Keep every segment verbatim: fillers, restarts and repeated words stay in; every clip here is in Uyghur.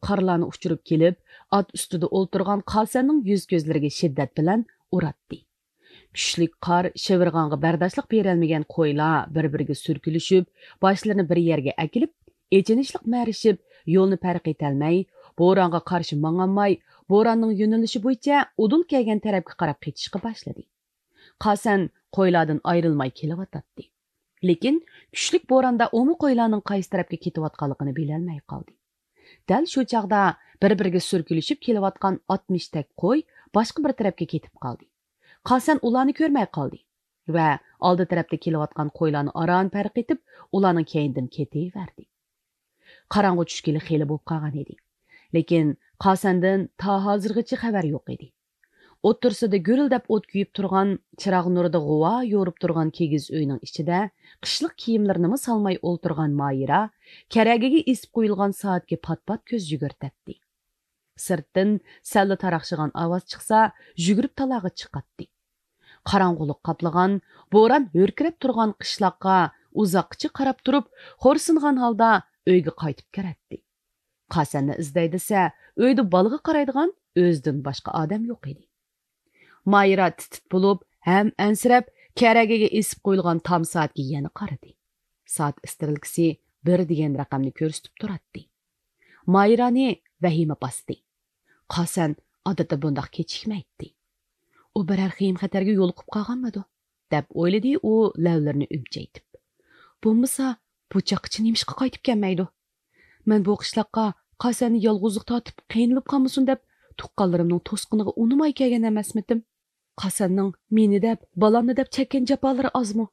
قارلارنى ئۇچۇرۇپ كېلىپ، ئات ئۈستىدە ئولتۇرغان قاسەننىڭ يۈز-كۆزلىرىگە شىددەت بىلەن ئۇراتتى. كۈچلۈك قار، شىۋىرغانغا بەرداشلىق بېرەلمىگەن قويلار بىر-بىرىگە سۈركىلىشىپ، باشلىرىنى بىر يەرگە ئەكېلىپ، ئېچىنىشلىق مەرىشىپ، يولنى پەرق ئېتەلمەي، بورانغا قارشى ماڭالماي، بوراننىڭ يۆنىلىشى بويىچە ئۇدۇل كەلگەن تەرەپكە قاراپ قېچىشقا باشلىدى. قاسەن قويلاردىن ئايرىلماي كېلىۋاتاتتى. لېكىن كۈچلۈك بوراندا ئۇمۇ قويلارنىڭ قايسى تەرەپكە كېتىۋاتقانلىقىنى بىلەلمەي قالدى. دەل شۇ چاغدا بىر-بىرىگە سۈركىلىشىپ كېلىۋاتقان ئاتمىش تەك قوي باشقا بىر تەرەپكە كېتىپ قالدى. قاسەن ئۇلارنى كۆرمەي قالدى ۋە ئالدى تەرەپتە كېلىۋاتقان قويلارنى ئاران پەرق ئېتىپ، ئۇلارنىڭ كەينىدىن كېتىۋەردى. قاراڭغۇ چۈشكىلى خېلى بولۇپ قالغان ئىدى. لېكىن قاسەندىن تا ھازىرغىچە خەۋەر يوق ئىدى. ئوتتۇرىسىدا گۈرۈلدەپ ئوت كۆيۈپ تۇرغان، چىراغ نۇرىدا غۇۋا يورۇپ تۇرغان كىگىز ئۆينىڭ ئىچىدە قىشلىق كىيىملىرىنىمۇ سالماي ئولتۇرغان مايرا كەرەگىگە ئېسىپ قويۇلغان سائەتكە پات-پات كۆز يۈگۈرتەتتى. سىرتتىن سەللا تاراقشىغان ئاۋاز چىقسا، يۈگۈرۈپ تالاغا چىقاتتى. قاراڭغۇلۇق قاپلىغان، بوران ھۆركىرەپ تۇرغان قىشلاققا ئۇزاققىچە قاراپ تۇرۇپ، خورسۇنغان ھالدا ئۆيگە قايتىپ كىرەتتى. قاسەننى ئىزدەي دېسە، ئۆيدە بالىغا قارايدىغان ئۆزىدىن باشقا ئادەم يوق ئىدى. مايرا تىت-تىت بولۇپ، ھەم ئەنسىرەپ، كەرەگىگە ئېسىپ قويۇلغان تام سائەتكە يەنە قارىدى. سائەت ئىسترېلكىسى بىر دېگەن رەقەمنى كۆرسىتىپ تۇراتتى. مايرانى ۋەھىمە باستى. قاسەن ئادەتتە بۇنداق كېچىكمەيتتى. ئۇ بىرەر خېيىم-خەتەرگە يولۇقۇپ قالغانمىدۇ؟ دەپ ئويلىدى ئۇ لەۋلىرىنى ئۈمچەيتىپ. بولمىسا، بۇ چاغقىچە نېمىشقا قايتىپ كەلمەيدۇ؟ مەن بۇ قىشلاققا قاسەننى يالغۇزلۇق تارتىپ قىينىلىپ قالمىسۇن دەپ، تۇغقانلىرىمنىڭ توسقىنىغا ئۇنىماي كەلگەن ئەمەسمىتىم؟ قاسەننىڭ مېنى دەپ، بالامنى دەپ چەككەن جاپالىرى ئازمۇ؟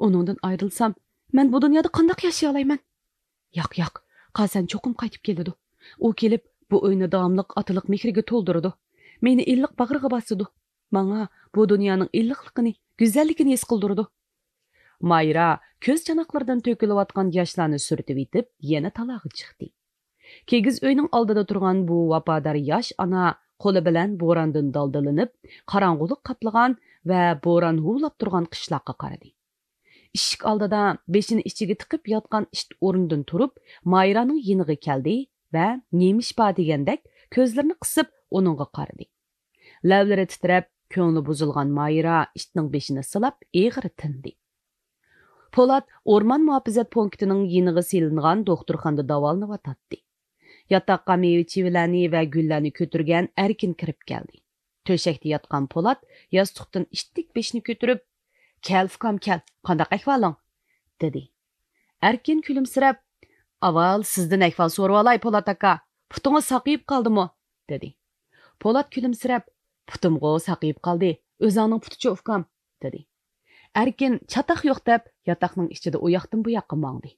ئۇنىڭدىن ئايرىلسام، مەن بۇ دۇنيادا قانداق ياشىيالايمەن؟ ياق، ياق، قاسەن چوقۇم قايتىپ كېلىدۇ. ئۇ كېلىپ، بۇ ئۆينى داۋاملىق ئاتىلىق مېھرىگە تولدۇرىدۇ. مېنى ئىللىق باغرىغا باسىدۇ. ماڭا بۇ دۇنيانىڭ ئىللىقلىقىنى، گۈزەللىكىنى ھېس قىلدۇرىدۇ. مايرا كۆز چاناقلىرىدىن تۆكۈلۈۋاتقان ياشلارنى سۈرتۈۋېتىپ، يەنە تالاغا چىقتى. كىگىز ئۆينىڭ ئالدىدا تۇرغان بۇ ۋاپادار ياش ئانا قولى بىلەن بوراندىن دالدىلىنىپ، قاراڭغۇلۇق قاپلىغان ۋە بوران ھۇۋلاپ تۇرغان قىشلاققا قارىدى. ئىشىك ئالدىدا بېشىنى ئىچىگە تىقىپ ياتقان ئىت ئورنىدىن تۇرۇپ، مايرانىڭ يېنىغا كەلدى ۋە نېمە ئىش بار دېگەندەك كۆزلىرىنى قىسىپ ئۇنىڭغا قارىدى. لەۋلىرى تىترەپ، كۆڭلى بۇزۇلغان مايرا ئىتنىڭ بېشىنى سىلاپ ئېغىر تىندى. پولات ئورمان مۇھاپىزەت پونكىتىنىڭ يېنىغا سېلىنغان دوختۇرخانىدا داۋالىنىۋاتاتتى. ياتاققا مېۋە-چىۋىلەرنى ۋە گۈللەرنى كۆتۈرگەن ئەركىن كىرىپ كەلدى. تۆشەكتە ياتقان پولات ياستۇقتىن ئىتتىك بېشىنى كۆتۈرۈپ، «كەل، ئۇكام، كەل، قانداق ئەھۋالىڭ؟» دېدى. ئەركىن كۈلۈمسىرەپ، «ئاۋۋال سىزدىن ئەھۋال سورىۋالاي، پولات ئاكا، پۇتىڭىز ساقىيىپ قالدىمۇ؟» دېدى. پولات كۈلۈمسىرەپ، «پۇتۇمغۇ ساقىيىپ قالدى، ئۆزۈڭنىڭ پۇتىچۇ، ئۇكام؟» دېدى. ئەركىن چاتاق يوق دەپ، ياتاقنىڭ ئىچىدە ئۇ ياقتىن بۇ ياققا ماڭدى.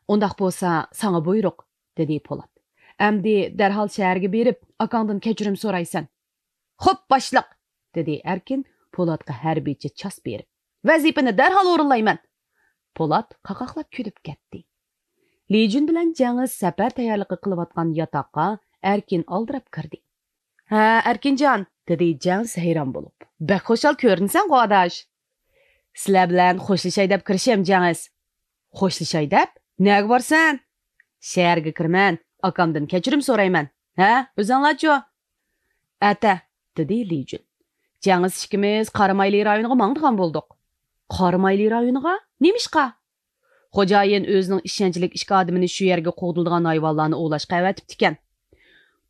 «ئۇنداق بولسا، ساڭا بۇيرۇق»، دېدى پولات. «ئەمدى دەرھال شەھەرگە بېرىپ، ئاكاڭدىن كەچۈرۈم سورايسەن.» «خوپ، باشلىق!» دېدى ئەركىن پولاتقا ھەربىيچە چاس بېرىپ. «ۋەزىپىنى دەرھال ئورۇنلايمەن!» پولات قاقاقلاپ كۈلۈپ كەتتى. لىجۈن بىلەن جەڭىز سەپەر تەييارلىقى قىلىۋاتقان ياتاققا ئەركىن ئالدىراپ كىردى. «ھە، ئەركىنجان!» دېدى جەڭىز ھەيران بولۇپ. «بەك خۇشال كۆرۈنىسەنغۇ، ئاداش!» «سىلەر بىلەن خوشلىشاي دەپ كىرىشىم، جەڭىز.» «خوشلىشاي دەپ؟ نەگە بارسەن؟» «شەھەرگە كىرىمەن، ئاكامدىن كەچۈرۈم سورايمەن. ھە، ئۆزۈڭلارچۇ؟» «ئەتە»، دېدى لىجۈن. «جەڭىز ئىككىمىز قارامايلى رايونىغا ماڭىدىغان بولدۇق.» «قارامايلى رايونىغا؟ نېمىشقا؟» «خوجايىن ئۆزىنىڭ ئىشەنچلىك ئىككى ئادىمىنى شۇ يەرگە قوغدىلىدىغان ھايۋانلارنى ئوۋلاشقا ئەۋەتىپتىكەن.»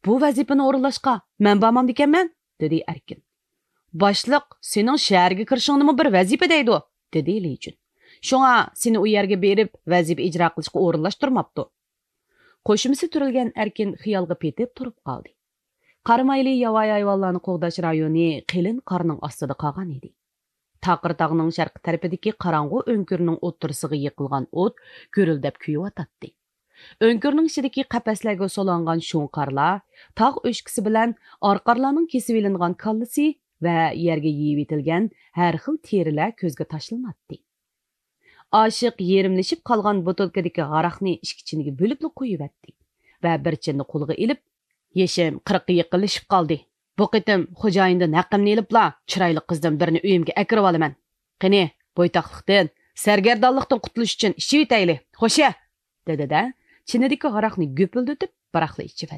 «بۇ ۋەزىپىنى ئورۇنلاشقا مەن بارمامدىكەنمەن؟» دېدى ئەركىن. «باشلىق سېنىڭ شەھەرگە كىرىشىڭنىمۇ بىر ۋەزىپە دەيدۇ»، دېدى لىجۈن. «شۇڭا سېنى ئۇ يەرگە بېرىپ ۋەزىپە ئىجرا قىلىشقا ئورۇنلاشتۇرماپتۇ.» قوشۇمىسى تۈرۈلگەن ئەركىن خىيالغا پېتىپ تۇرۇپ قالدى. قارامايلى ياۋايى ھايۋانلارنى قوغداش رايونى قېلىن قارنىڭ ئاستىدا قالغان ئىدى. تاقىر تاغنىڭ شەرقىي تەرىپىدىكى قاراڭغۇ ئۆڭكۈرنىڭ ئوتتۇرىسىغا يېقىلغان ئوت گۈرۈلدەپ كۆيۈۋاتاتتى. ئۆڭكۈرنىڭ ئىچىدىكى قەپەسلەرگە سولانغان شۇڭقارلار، تاغ ئۆچكىسى بىلەن ئارقارلارنىڭ كېسىۋېلىنغان كاللىسى ۋە يەرگە يېيىۋېتىلگەن ھەر خىل تېرىلەر كۆزگە تاشلىناتتى. ئاشىق يېرىملىشىپ قالغان بوتۇلكىدىكى ھاراقنى ئىككى چىنىگە بۆلۈپلا قويۇۋەتتى ۋە بىر چىننى قولىغا ئېلىپ، «يېشىم قىرىققا يېقىنلىشىپ قالدى. بۇ قېتىم خوجايىندىن ھەققىمنى ئېلىپلا، چىرايلىق قىزدىن بىرنى ئۆيۈمگە ئەكىرىۋالىمەن. قېنى، بويتاقلىقتىن، سەرگەردانلىقتىن قۇتۇلۇش ئۈچۈن ئىچىۋېتەيلى، خوشە!» دېدى-دە، چىنىدىكى ھاراقنى گۈپۈلدىتىپ بىراقلا ئىچىۋەتتى.